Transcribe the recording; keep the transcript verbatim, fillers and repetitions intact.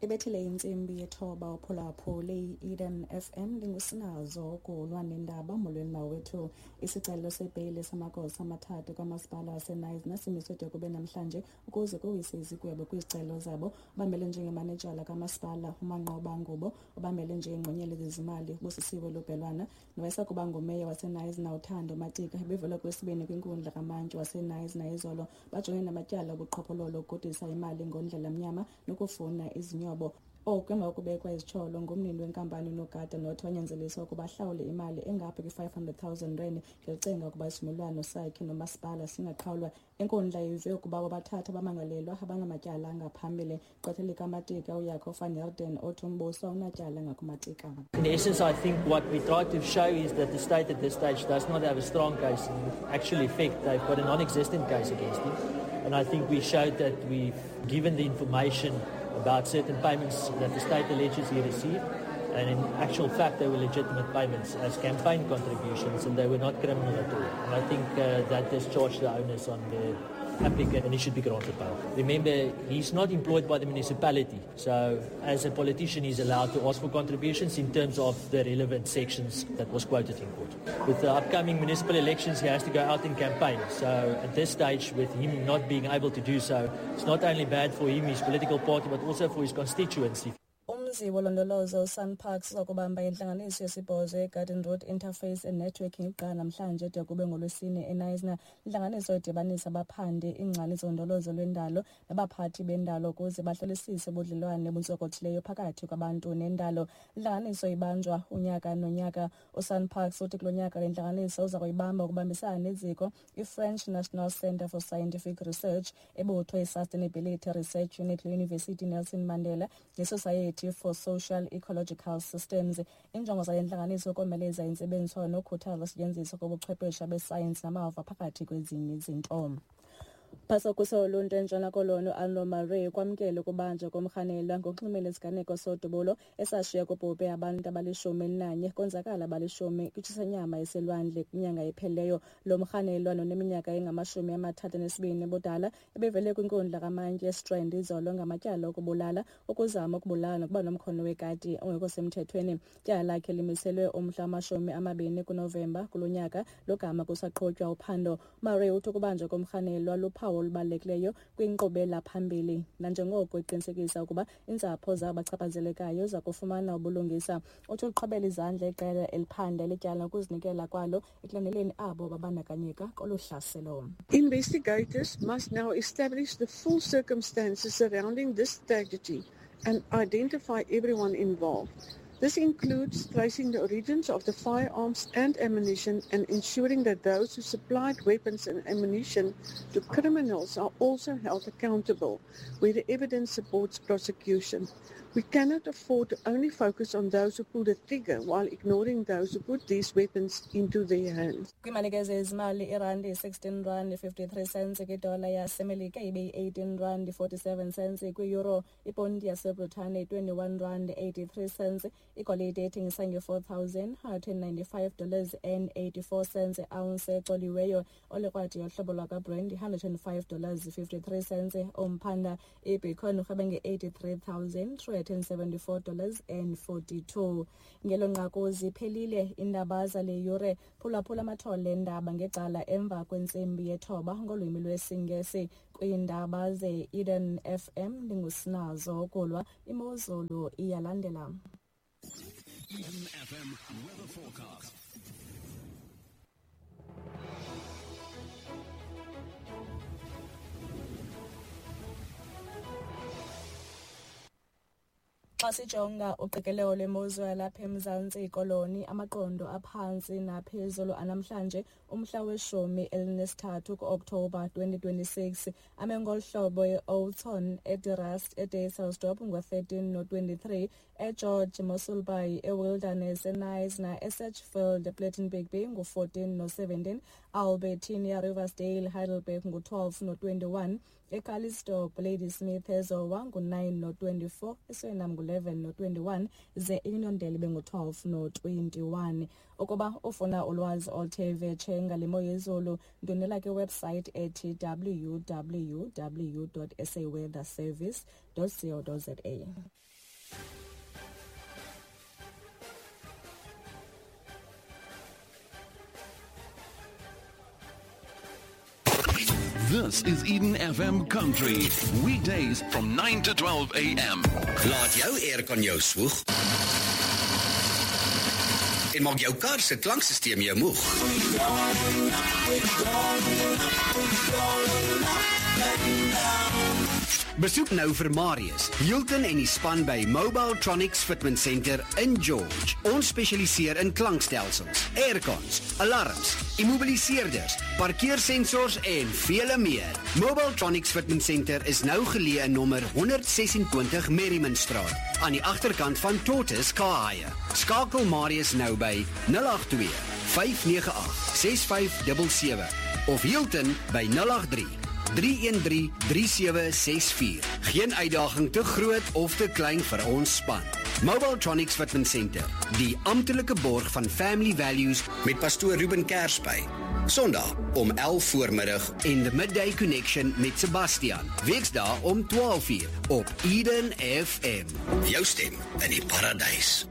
Ibethile intsimbi yethoba uphulaphule i-Eden F M ndingusinazo kulwa nendaba. Molweni mawethu. Isicelo sebheyile samagosa amathathu kamasipala waseKnysna simiswe de kube namhlanje ukuze kuwiswe izigwebo kwizicelo zabo. Ubambele njengemanejala kamasipala uManqoba Ngubo, ubambele njengengqonyela zezimali Busisiwe Lubhelwana, nowayesakuba ngumeya waseKnysna uThando Matika bevela kwesibini kwinkundla kamantyi waseKnysna izolo. Bajongene namatyala obuqhophololo, ukugudisa imali ngondlela mnyama nokufuna izinyobo. Oku emva kokubekwa izityholo ngumnini wenkampani unogada nothi wanyanzeliswa ukuba ahlawule imali engapha kwi-five hundred thousand rand ngelicenga ukuba isivumelwano sakhe nomasipala singaqhawulwa. Inkundla ive ukuba bobathathu abamangalelwa abanamatyala angaphambili. Gqwetha likaMatika uJaco van Heerden othi umbuso awunatyala ngakuMatika. In essence, I think what we try to show is that the state at this stage does not have a strong case. In actual effect, they've got a non-existent case against him. And I think we showed that we've given the information about certain payments that the state alleges he received, and in actual fact they were legitimate payments as campaign contributions and they were not criminal at all. And I think, uh, that discharged the onus on the applicant and he should be granted bail. Remember, he's not employed by the municipality, so as a politician he's allowed to ask for contributions in terms of the relevant sections that was quoted in court. With the upcoming municipal elections he has to go out and campaign, so at this stage with him not being able to do so, it's not only bad for him, his political party, but also for his constituency. Umzi wolondolozo uSanparks uza kubamba intlanganiso yesibhozo eGarden Road Interface and Networking iqala namhlanje de kube ngolwesine eKnysna. Intlanganiso idibanisa abaphandi, iingcali zolondolozo lwendalo nabaphathi bendalo ukuze bahlolisise ubudlelwane obuntsokothileyo phakathi kwabantu nendalo. Intlanganiso ibanjwa unyaka nonyaka. USanparks uthi kulo nyaka le ntlanganiso uza kuyibamba ukubambisana neziko iFrench National Centre for Scientific Research, ebutho i-Sustainability Research Unit le-University Nelson Mandela neSociety for Social Ecological Systems. Injongo zale ntlanganiso ukomeleza intsebenziswano nokukhuthaza usetyenziswa kobuchwephesha besayensi namava phakathi kwezinye izinto. Phasa oluntu eNtshona Koloni uArno Murray kwamkele ukubanjwa komrhanelwa ngokunxulumene nesiganeko sodubulo esashiya kubhubhe abantu abalishumi elinanye konzakala abalishumi kwitshisanyama eselwandle kwinyanga ephelileyo. Lo mrhanelwa noneminyaka engamashumi amathathu anesibini ubudala ebevele kwinkundla kamantyi eStrand izolo ngamatyala okubulala, ukuzama ukubulala nokuba nomkhono wekati ongekho semthethweni. Ityala lakhe limiselwe umhla wamashumi amabini kuNovemba kulo nyaka logama kusaqhutywa uphando. Murray uthi ukubanjwa komrhanelwa luphawu olubalulekileyo kwinkqubela phambili nanjengoko iqinisekisa ukuba iintsapho zabachaphazelekayo zakufumana ubulungisa. Uthi uqhwabela izandla iqela eliphanda lityala ukuzinikela kwalo ekulandeleni abo babandakanyeka kolu hlaselo. Investigators must now establish the full circumstances surrounding this tragedy and identify everyone involved. This includes tracing the origins of the firearms and ammunition and ensuring that those who supplied weapons and ammunition to criminals are also held accountable where the evidence supports prosecution. We cannot afford to only focus on those who pull the trigger while ignoring those who put these weapons into their hands. Kwimalike zezimali, irandi sixteen rand fifty-three cents kwidola yaseMelika ibe yi-eighteen rand forty-seven cents kwi-euro, iponti yaseBritane twenty-one rand eighty-three cents, igolide ethengisa nge-four thousand one hundred ninety-five dollars and eighty-four cents ounce ecoliweyo, olikrwadi yohlobo lwakwaBrand one hundred and five dollars fifty-three cents umphanda, ibitcoin urhwebe nge-eighty-three thousand three hundred seventy-four dollars and forty-two. Ngelo nqaku ziphelile iindaba zale yure. Phulaphula amathole endaba ngecala emva kwentsimbi yethoba ngolwimi lwesiNgesi. Kwiindaba ze-Eden F M ndingusinazo Kulwa. Imozulu iyalandela. Eden F M weather forecast. Xa sijonga uqikelelo lwemozulu yalapha eMzantsi Koloni, amaqondo aphantsi naphezulu anamhlanje umhla weshumi elinesithathu ku-Okthobha twenty twenty-six ame ngolu hlobo: e-Oudtshoorn, eDe-Rust, eDysselsdorp ngo-thirteen no-twenty-three, eGeorge, Mossel Bay, eWilderness, eKnysna, eSedgefield, ePlettenberg Bay ngu-fourteen no-seventeen, Albertinia, Riversdale, Heidelberg ngu-twelve no-twenty-one, eCalitzdorp, Ladysmith, eZowa ngu-nine no-twenty-four, eSuriname ngu-eleven no-twenty-one, ze iUniondale ibe ngu-twelve no-twenty-one. Ukuba ufuna ulwazi oluthe vetshe ngale mo yezulu, ndwendwela kwiwebsite ethi w w w dot s a weather service dot co dot z a. This is Eden F M Country. Weekdays from nine to twelve A M. Laat jou aircon jou swoeg en maak jou kar se klankstelsel jou moeg. Besoek nou vir Marius, Hilton en die span by Mobiletronics Fitment Center in George. Ons spesialiseer in klankstelsels, aircons, alarms, immobiliseerders, parkeersensors en vele meer. Mobiletronics Fitment Center is nou geleë in nommer honderd ses-en-twintig Merriman Straat, aan die agterkant van Tortoise Car Hire. Skakel Marius nou by nul agt twee, vyf nege agt, ses vyf sewe sewe of Hilton by nul agt drie, drie een drie, drie sewe ses vier. Geen uitdaging te groot of te klein vir ons span. Mobiletronics Fitment Center, die amptelike borg van Family Values met pastoor Ruben Kersby. Sondag om elf voormiddag en The Midday Connection met Sebastian. Weksdae om twaalf uur op Eden F M. Jou stem in die paradys.